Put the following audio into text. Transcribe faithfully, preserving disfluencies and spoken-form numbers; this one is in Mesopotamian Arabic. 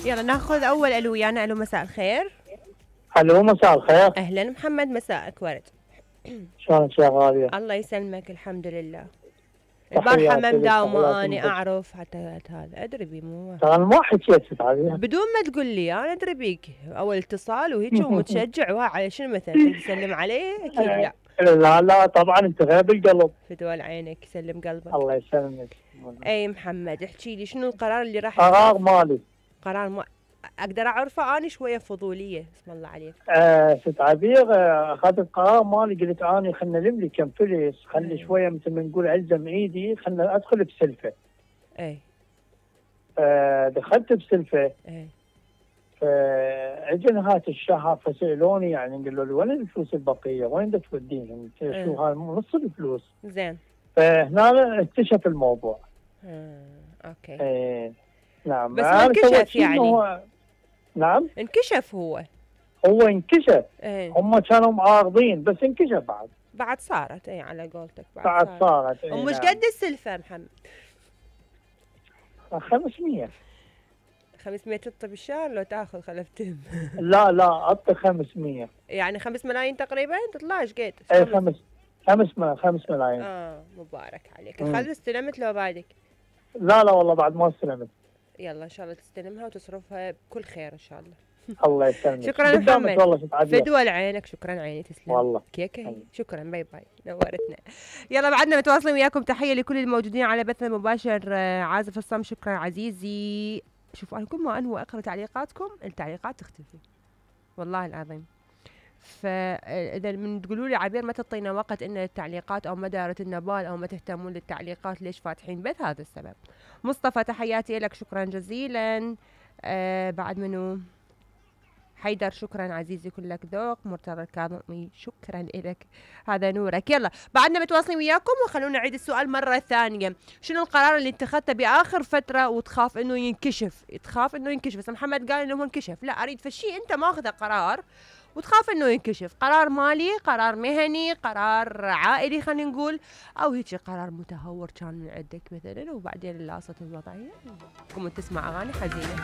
يلا ناخذ اول الو ويانا. الو مساء الخير. الو مساء الخير. اهلا محمد، مساءك ورد. شلونك يا غالية؟ الله يسلمك، الحمد لله. البارحة ما مداومة اني اعرف حتى هذا ادري بي مو ترى ما حكيت عليها بدون ما تقول لي، انا ادري بيك اول اتصال وهيك ومتشجع وها شنو مثلا تسلم عليه؟ اكيد لا. لا لا طبعا انت غير بالقلب. فدوى عينك، يسلم قلبك. الله يسلمك. اي محمد احكي لي شنو القرار اللي راح قرار مالي. قرار ما اقدر اعرفه؟ اني شويه فضوليه اسم الله عليك. آه ست عبير، اخذت قرار مالي، قلت اني خلنا نلم لي كم فلس، خلي شويه مثل ما نقول الزم ايدي، خلنا ادخل بسلفه. اي آه دخلت بسلفه. اي فاجى نهايه الشهر فسالوني، يعني قالوا لي وين الفلوس البقيه؟ وين بدك توديهم؟ شو هاي نص الفلوس. زين. فهنا اكتشف الموضوع. آه، اوكي. ايه نعم. بس ما انكشف يعني؟ هو نعم انكشف. هو هو انكشف. ايه. هم كانوا معارضين بس انكشف بعد. بعد صارت اي على قولتك. بعد, بعد صارت, صارت. ايه ومش نعم. قد السلفه محمد؟ خمسمية. خمسمية تطب بالشهر لو تاخذ خلفتهم؟ لا لا اعطي خمسمية. يعني خمس ملايين تقريبا تطلع ايش قد؟ اي خمس خمس خمس ملايين. اه مبارك عليك. الخلف استلمت لو بعدك؟ لا لا والله بعد ما استلمت. يلا ان شاء الله تستلمها وتصرفها بكل خير ان شاء الله. الله يسلمك. شكرا محمد. والله فدوى لعينك. شكرا عيني تسلم والله كيكه. شكرا باي باي نورتنا. يلا بعدنا متواصلين وياكم. تحيه لكل الموجودين على بث المباشر. عازف الصم شكرا عزيزي. شوفوا انا كل ما انوى اقرا تعليقاتكم التعليقات تختفي والله العظيم. فاذا من تقولوا لي عبير ما تعطينا وقت ان التعليقات او ما دارت النبال او ما تهتمون للتعليقات ليش فاتحين بث؟ هذا السبب. مصطفى تحياتي لك شكرا جزيلا. آه بعد منو؟ حيدر شكرا عزيزي كلك ذوق. مرتضى الكاظمي شكرا لك، هذا نورك. يلا بعدنا متواصلين وياكم وخلونا نعيد السؤال مرة ثانية. شنو القرار اللي اتخذته بآخر فترة وتخاف انه ينكشف؟ تخاف انه ينكشف. بس محمد قال انه انكشف. لا اريد فشي انت ماخذه قرار وتخاف انه ينكشف. قرار مالي، قرار مهني، قرار عائلي خلينا نقول، او هيك قرار متهور كان من عندك مثلا وبعدين لاصت الوضعية قمت تسمع اغاني حزينة.